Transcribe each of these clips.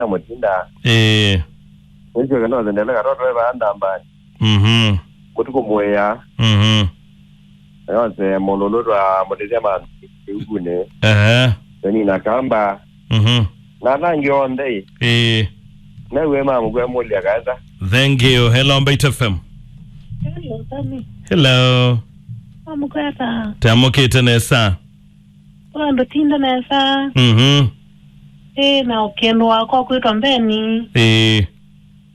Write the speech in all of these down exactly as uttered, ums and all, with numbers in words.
na mũtinda. Ĩĩ. Nĩsyoke nose ndele katoto e vaa ndambani. Mhm. Mũtukũ mũĩa. Mhm. Nose mũlũlũ twa mũtĩthya mandu ĩukunĩ. Ehe. Nĩnina kamba. Mhm. Na ala angĩ onthe ĩ. Ĩĩ. Naw'e mamũkwe mũlya kaetha. Thank you. Hello, Mbaitu F M. Hello, Sami. Hello. Wamũkwata. Tamũkĩte nesa. Kwa ndũtinda nesa. Mhm. Ĩ, na ũkendo wakwa kwĩtwa Mbeni. Ĩĩ.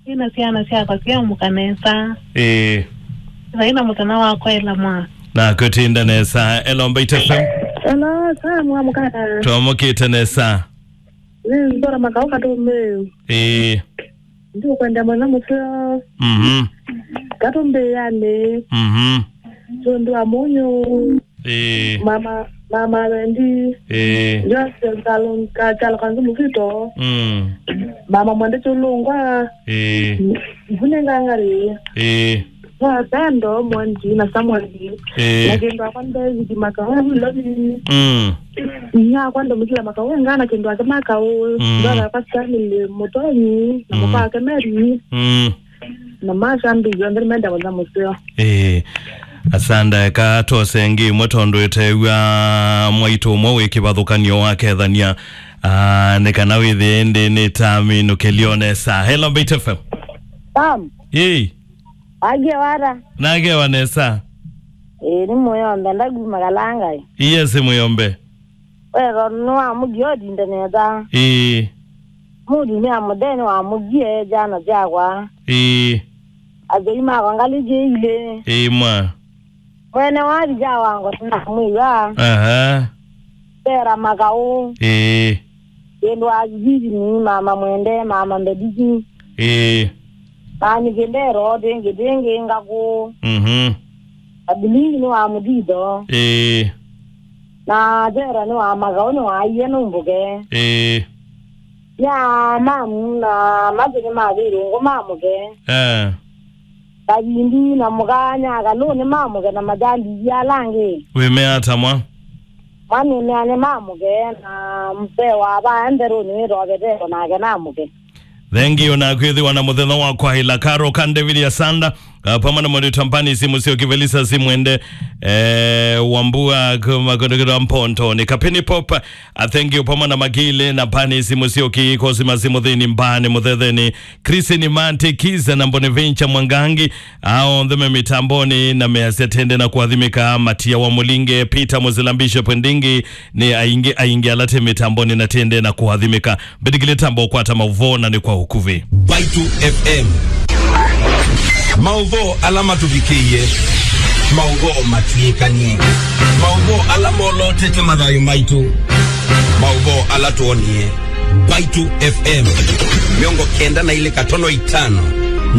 Ĩ, na syana syakwa syamũka nesa. Ĩĩ. Vai na mũthenya wakwa ĩla mwa. Na kũtinda nesa. Hello, Mbaitu F M. Hello, Sam, wamũkata. Twamũkĩte nesa. Nĩ Nzora Makau Katũmbĩ. Ĩĩ. Ndiũkwenda mwana mũseo. Mhm. Katũmbĩanĩ. Mhm. Tũndũ wa mũnyũ. Ĩĩ. Mama, mama Wendi. Ĩĩ. Joseph Kalonga, Kalonga Kanzu Mukito. Mm. Mama Mwende Chulungwa. Ĩĩ. Mvune Ngangari. Ĩĩ. Wa Pendo, Mwanji na Samuel. Ĩĩ. Na kĩndũ akwa David Makau, Lovi. Mm. Inya akwa ndo Mukila Makau, ngana kĩndũ ake Makau. Mm. Ndwara kwa Stanley Mutonyi, na Mm. mũka ake Mary. Mm. Na masha mbi yonthe menda kwanza mũseo. Ĩĩ. Asanda eka tose ngi imwe tondũ ĩtew'a mwaitũ ũmwe wĩ kĩvathũkanio wa kethania. Ah, nĩ kana wĩthĩe ĩndĩ nĩ taminũkĩlio nesa. Hello, Mbaitu F M. Sam. Ĩĩ. Agie wara. Nagewa nesa. Ĩĩ, nĩ Mũyombe, ndaguma Kalanga. Yes, Mũyombe. Wero nĩ wa mũgie ũtinde nesa. Ĩĩ. Mũtumĩa mũthee nĩ wa mũgie jana syakwa. Ĩĩ. Asyai makwa ngalĩ jĩ ilĩ. Ĩĩ, mwa. Mwene wa vija wango sina mwĩwa. Aha. Tera Makau. Ĩĩ. Kĩndũ wa Vivi ni mama Mwende, mama Mbediki. Ĩĩ. Nani kĩndero, tĩngĩ, tĩngĩ, ngakũ. Mhm. Abilingi nĩ wa mũthitho. Ĩĩ. Na Jera nĩ wa Makau, nĩ wa iye nũmbũke. Ĩĩ. Ya mamu na mathi nĩ mathĩrũngũ mamũke. Eh. Kavindi na mũkanya kalũnĩ mamũke na majambi ivia ala angĩ. Wĩmea ata mwa? Mwanĩmeane mamũke na mpe wa vaa nderũnĩ wĩtwa Veteko nake namũke. Thank you na kwĩthĩwa na mũthenya wa kwaĩla. Karo ka David Asanda, uh, pamwe na Mwarĩ Tampani, simu sio Kivelisa, simu ende, eh, Wambua, kuma kũndũ kĩtwa Mpontoni. Kapini Pop, uh, thank you, pamwe na Magile na Pani, simu sio ki, kosi masimu thĩni mbani, mũthetheni, Chris ni Mante, Kiza na Bonaventure Mwangangi, ao onthe me mitamboni na measya tende na kũathimĩka, Matia wa Mũlinge, Peter Mũzila, Bishop Ndingi, nĩ aingĩ, aingĩ ala te mitamboni na tende na kũathimĩka. Mbĩtĩkĩlye tamba ũkwata maũvoo na nĩ kwa ũkuvĩ. Mbaitu F M. Maũvoo ala matũvikĩie. Maũvoo matw'ĩkanie. Maũvoo ala molotete mathayũ maitũ. Maũvoo ala twonie. Mbaitu F M. Mĩongo kenda na ilĩ katono itano.